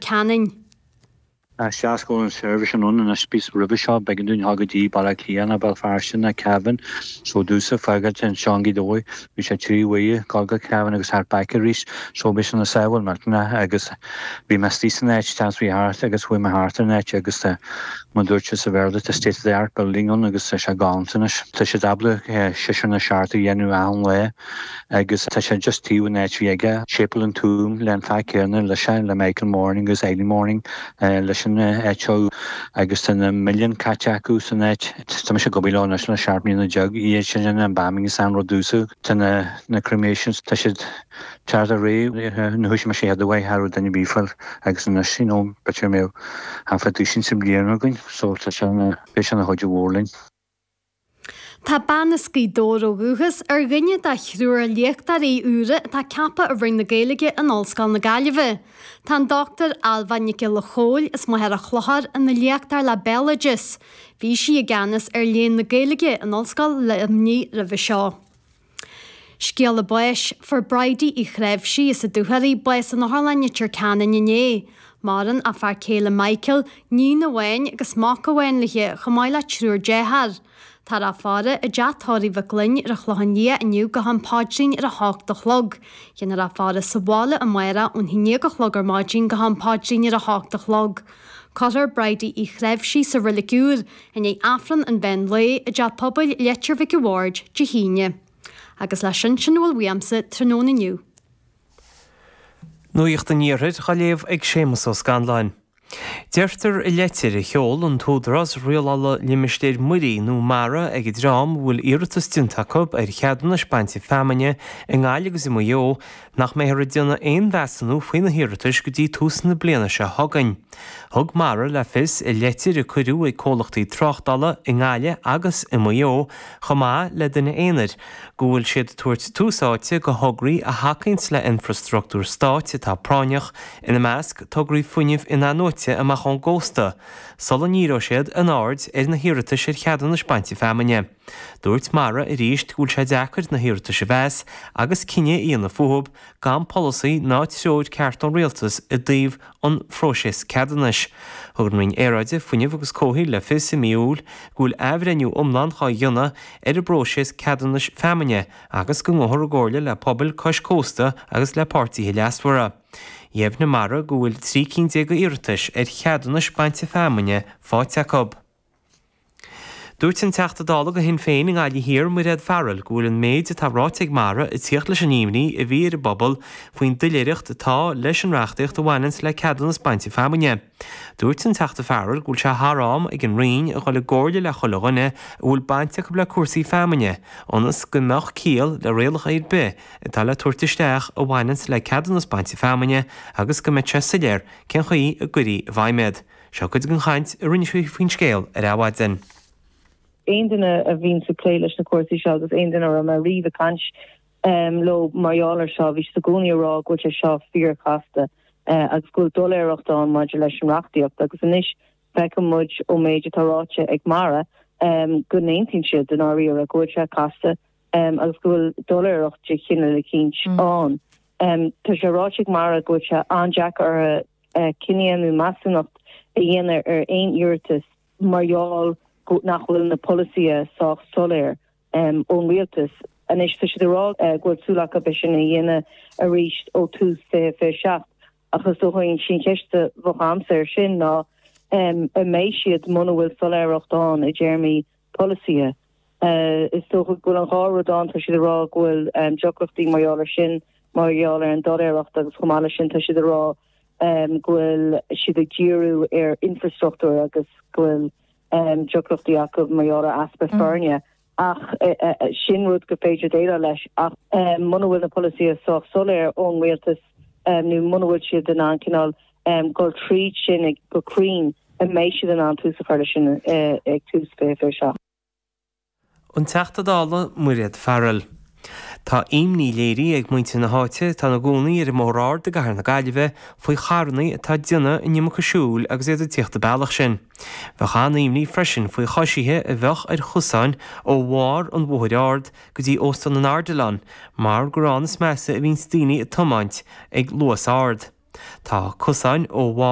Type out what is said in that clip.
Ceanainn. Seans go bhfuil an seirbhís sin ann anois bíos roimhe seo b'éigean dúinn dhul go dtí Baile Átha Cliath nó Béal Feirste nó Cavan so domhsa fágáilt anseo i nGaoth Dobhair bhí sé 3 uaire dul go Cavan agus thart back arís so bhí sé ina sábháil millteanach agus bhí mé istigh san áit seans bhí thart agus chuaigh mé thart ar an áit agus tá mar dúirt sé sa Bhéarla tá state of the art building ann agus tá sé galánta anois. Tá siad ábalta seisear nó seachtar a dhéanamh achan lá. Agus tá sé just taobh an áit bhí aige, Séipéal an Tuaim le an fear céanna leis le Michael Moran agus Eileen Moran leis an áit seo agus tá na milliúin caite acu san áit. Tá mise ag obair leo anois le 17 mbliana, iad sin an embalming is an rud domhsa. Tá na na cremations, tá siad thart ar réidh, nuair a thoisigh mise iad a bheith, cha raibh duine ar bith fáil agus anois you know b'fhéidir go mbeadh half a duisín sa bhliain againn so tá sé ina, beidh sé ina chuid mhór linn. Tá bean as Gaoth Dobhair ó dhúchas ar dhuine de thriúr léachtóirí úra atá ceaptha i Roinn na Gaeilge in Ollscoil na Gaillimhe. Tá an Dr Ailbhe Nic Giolla Chóill as Machaire Chlochair ina léachtóir le Béaloideas. Bhí sí i gceannas ar Léann na Gaeilge in Ollscoil Luimnigh roimhe seo. Scéala báis, Fuair Bridie Uí Chnáimhsí as an Dúchoraidh bás in Otharlann Leitir Ceanainn inné. Maireann a fear céile Michael, níon amháin agus mac amháin léi, chomh maith le triúr dearthár. Táthar á faire i dteach tórraimh Mhic Fhloinn ar an Chlochán Liath inniu go ham paidrín ar a hocht a chlog. Déanfar á faire sa bhaile amárach ón haon déag a chlog ar maidin go ham paidrín ar a hocht a chlog. Cuirfear Bridie Uí Chnáimhsí sa Reilig Úr i ndiaidh Aifreann an mheán lae i dTeach Pobail Leitir Mhic a' Bhaird Dé hAoine. Agus leis sin, sin a bhfuil uaimse tráthnóna inniu. Nuacht an Iarthair á léamh ag Séamus Ó Scanláin. Deirtear i leitir a sheol an tÚdarás Rialála Limistéir Muirí nó Mara ag an dream a bhfuil iarratas déanta acu ar cheadúnais bainte feamainne i nGaillimh agus i Maigh Eo nach mbeifear ag déanamh aon mheasúnú faoi na hiarratais go dtí tús na bliana seo chugainn. Thug Mara le fios i leitir a cuireadh ag comhlachtaí tráchtála i nGaillimh agus i Maigh Eo chomh maith le duine aonair go bhfuil siad ag tabhairt tús áite go thograí a thacaíonns le infrastruchtúr stáit atá práinneach, ina measc tograí fuinnimh in-athnuaite amach ón gcósta, sula ndíreoidh siad a n-aird ar na hiarratais ar cheadúnais bainte feamainne. Dúirt Mara arís go bhfuil sé deacair na hiarratais a mheas agus cinneadh a dhéanamh fúthu gan polasaí ná treoir ceart ón Rialtas i dtaobh an phróiseas ceadúnais. Thug an Roinn Aeráide, Fuinnimh agus Comhshaoil le fios i mí Iúil go bhfuil athbhreithniú iomlán dhá dhéanamh ar an bpróiseas ceadúnais feamainne agus go ngabhfar i gcomhairle le pobail cois cósta agus le páirtithe leasmhara. Dheimhnigh Mara go bhfuil 13 cinn d'iarratais ar cheadúnais bainte feamainne faighte acu. Dúirt an Teachta Dála do Shinn Féin i nGaillimh Thiar, Mairéad Farrell, go bhfuil an méid atá ráite ag Mara ag tíocht leis an imní a bhí ar an bpobal faoin doiléireacht atá leis an reachtaíocht a bhaineanns le ceadúnas bainte feamainne. Dúirt an Teachta Farrell go bhfuil sé thar am ag an Roinn a dhul i gcomhairle le chuile dhuine a bhfuil baint acu le cúrsaí feamainne ionas go mbeadh ciall le rialacha ar bith atá le tabhairt isteach a bhaineanns le ceadúnas bainte feamainne agus go mbeadh sé soiléir cén chaoi a gcuirfí i bhfeidhm iad. Seo cuid den chaint a rinne sí faoin scéal ar Adhmhaidin. Aon duine a bhíonns ag plé leis na cúrsaí seo agus aon duine a raibh mé riamh ag caint leo mar gheall air seo, bhí siad i gcónaí ag rá go bhfuil sé seo fíorchasta agus go bhfuil doiléireacht ann maidir leis an reachtaíocht agus anois feiceann muid ón méid atá ráite ag Mara go n-aontaíonn siad i ndáiríre go bhfuil sé casta agus go bhfuil doiléireacht de chineál eicínt ann. Tá sé ráite ag Mara go bhfuil sé an-deacair orthu cinneadh nó measúnacht a dhéanamh ar aon iarratas mar gheall go nach bhfuil na polasaithe sách soiléir ón rialtas. Anois tá siad ag rá go bhfuil súil acu é sin a dhéanamh arís ó tús 2027 ach is dócha an cheist a bheadh agamsa air sin ná an mbeidh siad muna bhfuil soiléireacht ann i dtéarmaí polasaithe. Is dócha go bhfuil an dhá rud ann, tá siad ag rá go bhfuil deacrachtaí mar gheall air sin, mar gheall ar an doiléireacht agus chomh maith leis sin tá siad ag rá go bhfuil siad ag díriú ar infrastruchtúr agus go bhfuil deacrachtaí acu mar gheall ar easpa foirne. Ach sin rud gur féidir déileáil leis ach muna bhfuil na polasaithe sách soiléir ón rialtas nó muna bhfuil siad in ann cineál dul tríd sin go cruinn, an mbeidh siad in ann tús a chur leis sin ag tús 2027? An Teachta Dála Mairéad Farrell. Tá imní léirithe ag muintir na háite atá ina gcónaí ar an mBóthar Ard i gCathair na Gaillimhe faoi charranna atá ag déanamh an iomarca siúil agus iad ag tíocht an bealach sin. Bheadh an-imní freisin faoi choisithe a bheadh ar chosáin ó bharr an Bhóthair Ard go dtí Óstán an Ardilaun mar gur ann is measa a bhíonns daoine ag tiomáint ag luas ard. Tá cosáin ó bharr.